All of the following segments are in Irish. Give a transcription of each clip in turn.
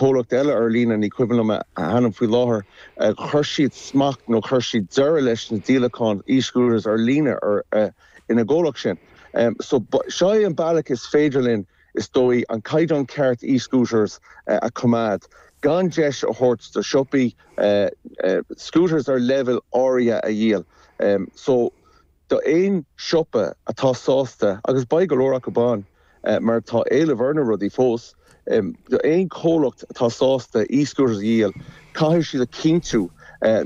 Comhlacht eile ar líne, ní cuimhin liom a ainm faoi láthair, chuir siad smacht nó chuir siad deireadh leis na díolacháin e-scooters ar líne ina gcomhlacht sin. So seo é an bealach is féidir linn, is dóigh, an caighdeán ceart e-scooters a choimeád, gan deis a thabhairt do siopaí scooters ar leibhéal áirithe a dhíol. So do aon siopa atá sásta, agus beidh go leor acu ann mar tá éileamh ar na rudaí fós, do aon chomhlacht atá sásta e-scooters a dhíol, caithfidh siad a chinntiú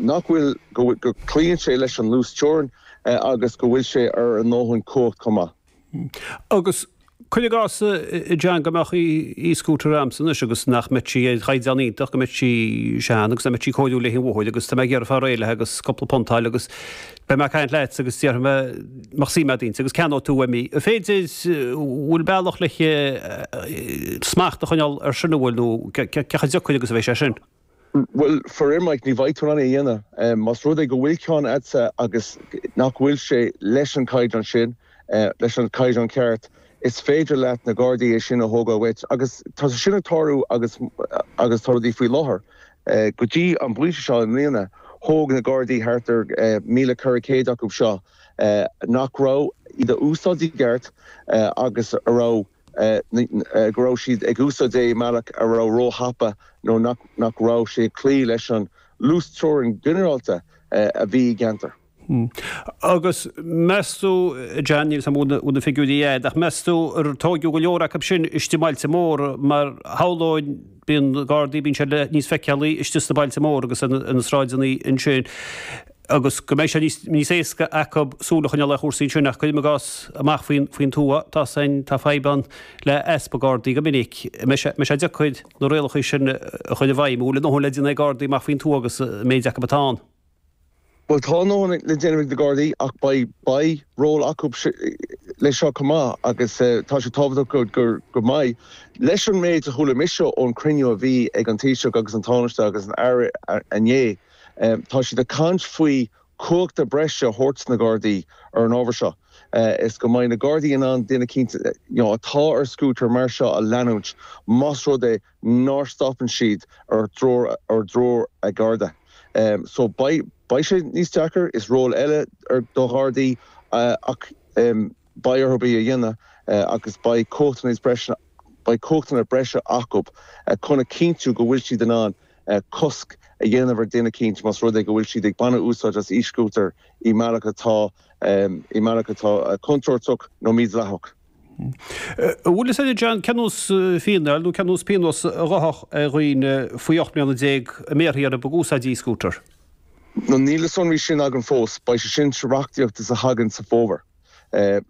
nach bhfuil, go gcloíonn sé leis an luas teorann agus go bhfuil sé ar a ndóthain cumhacht chomh maith. Agus cuir i gcás, a John, go mbeadh e-scooter a'msa anois agus nach mbeadh sí ar chaighdeán iontach, go mbeadh sí sean agus nach mbeadh sí cóiriúil le haghaidh an bhóthair agus tá mé ag iarraidh fáil réidh léi agus cúpla punt a fháil agus beidh mé ag caint leat agus déarfaidh mé mbeadh suim a'd inti agus ceannóidh tú uaim í. An féidir, bhfuil bealach le smacht a choinneáil ar sin an bhfuil nó cé chomh deacair agus a bheidh sé sin? Bhuel, faraor Mike, ní bheidh tú in ann é a dhéanamh. Más rud é go bhfuil ceann a'dsa agus nach bhfuil sé leis an caighdeán sin, leis an caighdeán ceart, is féidir leat na Gardaí é sin a thógáil uait. Agus tá sé sin ag tarlú agus agus tá rudaí faoi láthair. Go dtí an bpointe seo i mbliana, thóg na Gardaí thart ar 1,400 acu seo nach raibh iad a úsáid i gceart agus a raibh go raibh siad ag úsáid é i mbealach a raibh róthapa nó nach raibh sé ag cloí leis an luas teorann ginearálta a bhí i gceantar. Agus meas tú, John, níl 's a'm an bhfuil na figiúirí a'd, ach meas tú ar tóigeadh go leor acu sin istigh i mbailte móra mar shamhlóinn bíonn Gardaí, bíonn siad níos feiceálaí istigh sna bailte móra agus ar na sráideanna ansin. agus go mbeidh sé níos éasca acu súil a choinneáil ar chúrsaí ansin ach cuirim i gcás amach faoin tuath, tá san, tá fadhb ann le easpa Gardaí go minic. An mbeidh sé deacair na rialacha sin a chur i bhfeidhm? An bhfuil a ndóthain le déanamh ag Gardaí amach faoin tuath agus an méid acu atá ann? Bhuel, tá a ndóthain le déanamh ag na Gardaí ach beidh, beidh ról acu leis seo chomh maith agus tá sé tábhachtach go, go, go mbeidh. Leis an méid a chuala mise ón chruinniú a bhí ag an Taoiseach agus an Tánaiste agus an Aire inné, Tá siad ag caint faoi cumhachta breise a thabhairt do na Gardaí ar an ábhar seo is go mbeidh na Gardaí in ann duine eicínt atá ar scútar mar seo a leanúint más rud é nár stopann siad ar threoir ar threoir ag Garda. So beidh beidh sé níos deacair, is ról eile do Ghardaí ach beidh orthu é a dhéanamh agus beidh cumhachtanna níos breise beidh cumhachtanna breise acu chun a chinntiú go bhfuil siad in ann cosc a dhéanamh ar duine eicínt más rud é go bhfuil siad ag baineadh úsáid as e-scútar i mbealach atá i mbealach atá contúirteach nó mídhleathach. An bhfuil fhios agat John, cén nós fíneáil nó cén nós pionós a gheobhadh ar dhaoine faoi 18 mbliana a mbéarfaí orthu ag úsáid e-scooter? Níl na sonraí sin agam fós. Beidh sé sin sa reachtaíocht is a thagann sa bhfómhar.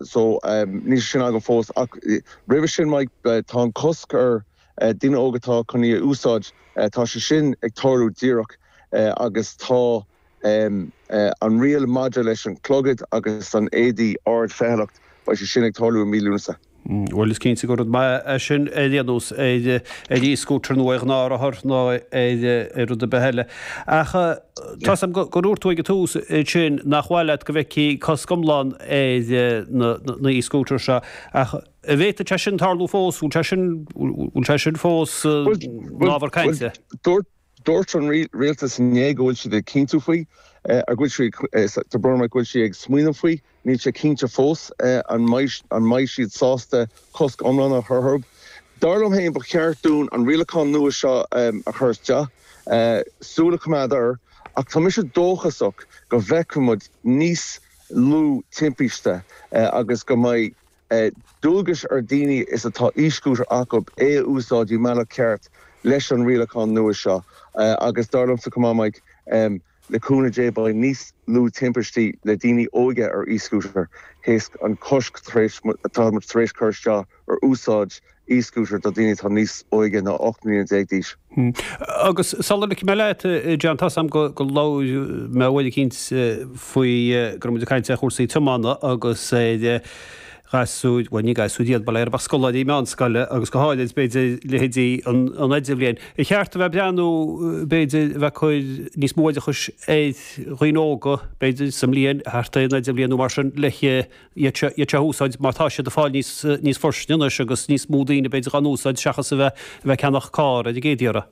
So níl sé sin agam fós. Ach roimhe sin Mike, tá an cosc ar daoine óga atá chun í a úsáid, tá sé sin ag tarlú díreach agus tá an riail maidir leis an clogad agus an éadaí ardfheithealacht, beidh sé sin ag tarlú i mí Lúnasa. Bhuel, is cinnte gur rud maith é sin ar aon nós, ar e-scooter nó ar ghnáthrothar nó ar rud ar bith eile. Ach tá 's a'm gur dhúirt tú ag an tús ansin nach mhaith leat go bhfeicfí cosc iomlán ar na e-scooters seo ach an bhféadfadh sé sin tarlú fós? Bhfuil sé sin, bhfuil sé sin fós ina ábhar cainte? Dúirt an rialtas inné go bhfuil siad ag cinntiú faoi, ar go bhfuil siad, tá brón orm, go bhfuil siad ag smaoineamh faoi. Níl sé cinnte fós an mbeidh siad sásta cosc iomlán a chur orthu. Dar liom féin, ba cheart dúinn an rialachán nua seo a chur isteach, súil a choimeád air, ach tá mise dóchasach go bhfeicfidh muid níos lú timpiste agus go mbeidh dualgais ar daoine is atá e-scooter acu é a úsáid i mbealach ceart leis an rialachán nua seo agus dar liomsa chomh maith Mike, le cúnamh Dé beidh níos lú timpistí le daoine óige ar e-scooter théis an cosc tar éis atá muid tar éis cur isteach ar úsáid e-scooter do daoine atá níos óige ná 18 mbliana d'aois. Agus sula ligfidh mé leat, John, tá's a'm go labhair mé uair eicínt faoi go raibh muid ag caint ar chúrsaí tiomána agus ar ghasúir, bhuel ní gasúir iad, bail ó Dhia orthu ach scoláirí meánscoile agus go háirid b'fhéidir leithéidí an idirbhliain. Ar cheart a bheith ag breathnú b'fhéidir a bheith ag cur níos mó oideachais ar dhaoine óga b'fhéidir sa mbliain thart ar an idirbhliain nó mar sin le iad seo iad seo a úsáid mar tá siad ag fáil níos níos fuirstne anois agus níos mó daoine b'fhéidir á n-úsáid seachas a bheith a bheith ag ceannach carr ar an gcéad iarraidh.